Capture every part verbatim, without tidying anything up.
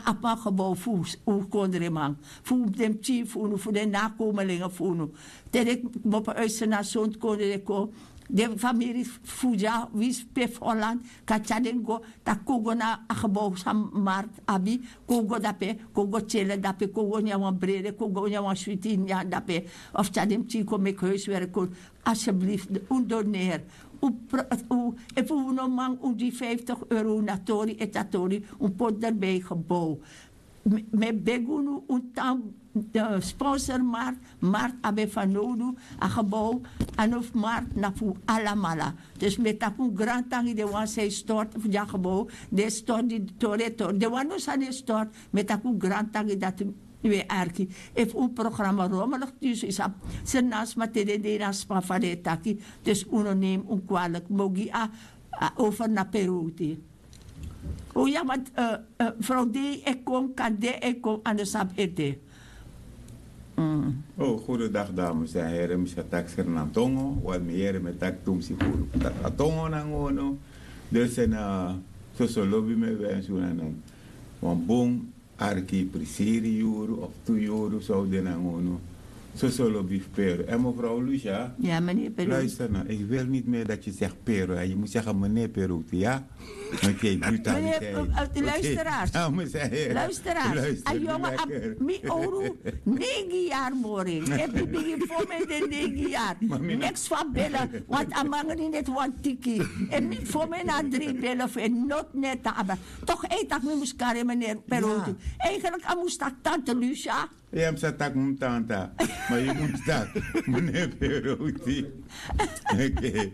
Apu a gebou fu un kondreman, fu den pikin fu unu, fu den nakomelingen fu unu. Te den kmopo uitse na sontu kondre den kon, den famiri fu dya winsi pe fu holland kan tyari den go, tak' kon go na a gebou san mart abi, kon go dape, kon go tyele dape, kon go nyan wan brede, kon go nyan wan switi nyan dape. Of tyari den pikin kon meki huiswerk kon. Alsjeblieft, un doneer. Efu un no man un di vijftig euro na tori eti a tori, un poti derbi gebou. Mi e begi unu, un tan sponsor mart. Mart abi en fanowdu. A gebou, a no fu mart, na fu un alamala. Dus mi e taki un grantangi den wan san e stortu fu di a gebou, den e stortu di tori e tori, den wan no sani e stortu. Mi e taki un grantangi dati. Yu e arki efu un programa romelig tu yu sabi. Sernans ma te den de na sma fa den e taki. Dus un no nemi un kwalik mogi a over na peroti. O ya want frow de e kon kan de e kon ando sabi e de. O goedendag dames en heren, mi sa taki sernantongo want mi heren mi taki tumsi guru taki a tongo nanga unu. Dus en soso lobi mi e wensi unu nen wan bun arki prisiri yuru of tu yuru sou de nanga unu. Soso lobi fu peru en mevrouw lucia. Luister nou, ik wil niet meer dat je zegt peru en je moet zeggen meneer peru. Ja. Oké, brutaliteit. Luisteraars. Luisteraars, a yonge abi mi oru negi yari mori. Efu mi bigin fo mi en de negi yari, niks fa bele. Want a mangri neti wan tiki. Efu mi fo mi en na dri bele fu en noti neti a abi. Tok' e taki mi mus kari en meneri peroti. Eigenlik a mus taki tante lucia. Ya mi sa taki mi tanta. Ma yu mus taki meneer peroti. Oké.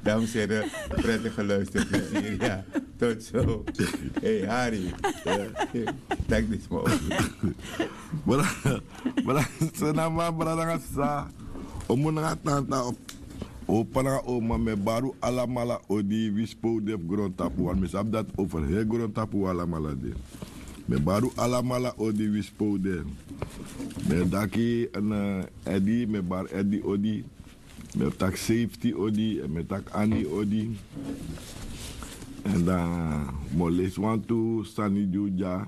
Dames en heren, prettig geluisterd plezier. Ja, tot zo. Hey, Harry. Taki dit maar. Brada, brada, so na ma brada nanga sa. Omu nanga tanta of opa nanga oma, mi e bari un alamala odi, winsi pe un de fu grontapu, want mi sabi dati over heri grontapu un alamala de. Mi e bari un alamala odi, winsi pe un de. Mi e taki Eddy, mi e bari Eddy odi. Mi e taki Safety odi, èn mi e taki Annie odi. Èn dan mi o leisi wantu sani di un dya.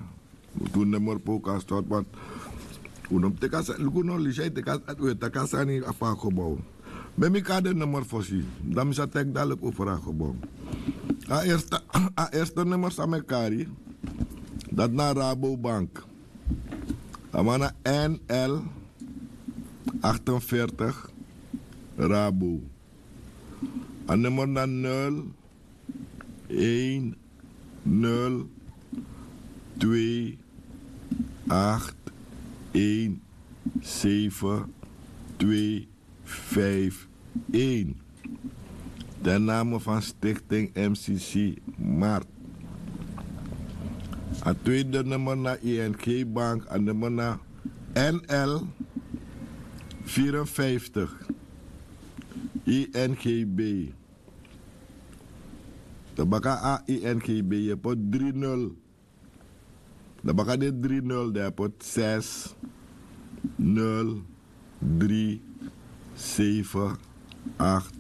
Tu nummer pe un kan start want un no mus teki a sani, luku no lisi a e teki a sani, un e taki a sani fu a gebou. Meki mi kari den nummer fosi, dan mi sa teki dadilik over a gebou. A eerste, a eerste nummer san mi e kari, dati na Rabobank. A man na N L achtenveertig Rabo. A nummer na nul een nul twee acht een zeven twee vijf een. Ten name van Stichting M C C Mart. A tweede nummer na I N G Bank, a nummer na N L vierenvijftig I N G B. Dan baka a I N G B, yu e poti dri nul. Dan baka den dri nul, dan yu e poti zes nul drie zeven acht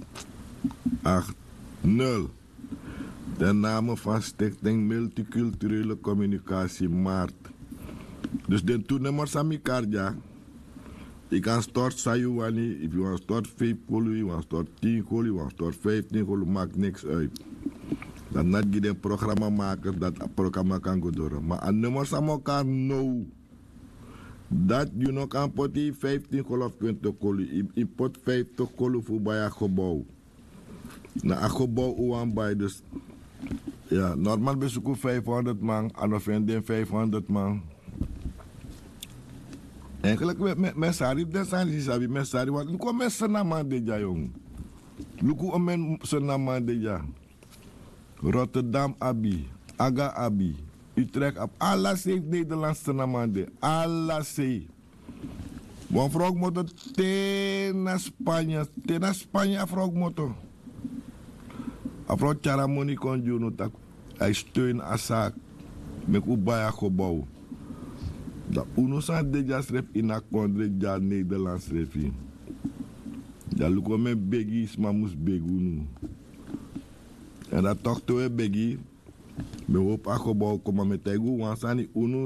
acht nul. Ten name van Stichting Multiculturele Communicatie Mart. Dus den tu nummer san mi kari dya, yu kan stort san yu wani, efu yu wani stort vijf kolu, yu wani stort tin kolu, yu wani stort vijftin kolu, maki niks uit. Dati na gi den programamakers dati a programa kan go doro. Ma a nummer san mi o kari now, dati yu no kan poti vijftin kolu of twintig kolu, yu poti vijftig kolu fu bai a gebou. Na a gebou un wani bai dus. Ya, normal ben suku vijfhonderd man, a no feni den vijfhonderd man. Eigenlijk mi e sari fu den sani di yu sabi, mi e sari want luku omen Srnaman de dya, yong. Luku omen Srnaman de dya. Rotterdam abi, Aga abi, Utrecht abi, ala sei fu Nederland Srnaman de, ala sei. Wan frow kmoto te na Spanya, te na Spanya a frow kmoto. A frow tyari a moni kon gi unu taki a e steun a saki meki un bai a gebou. Dan unu san de dya srefi ini a kondre dya Nederland srefi. Dan luku omen begi sma mus begi unu. Èn dan tok' te un e begi, mi e hopi a gebou kon, ma mi e taigi un wan sani, unu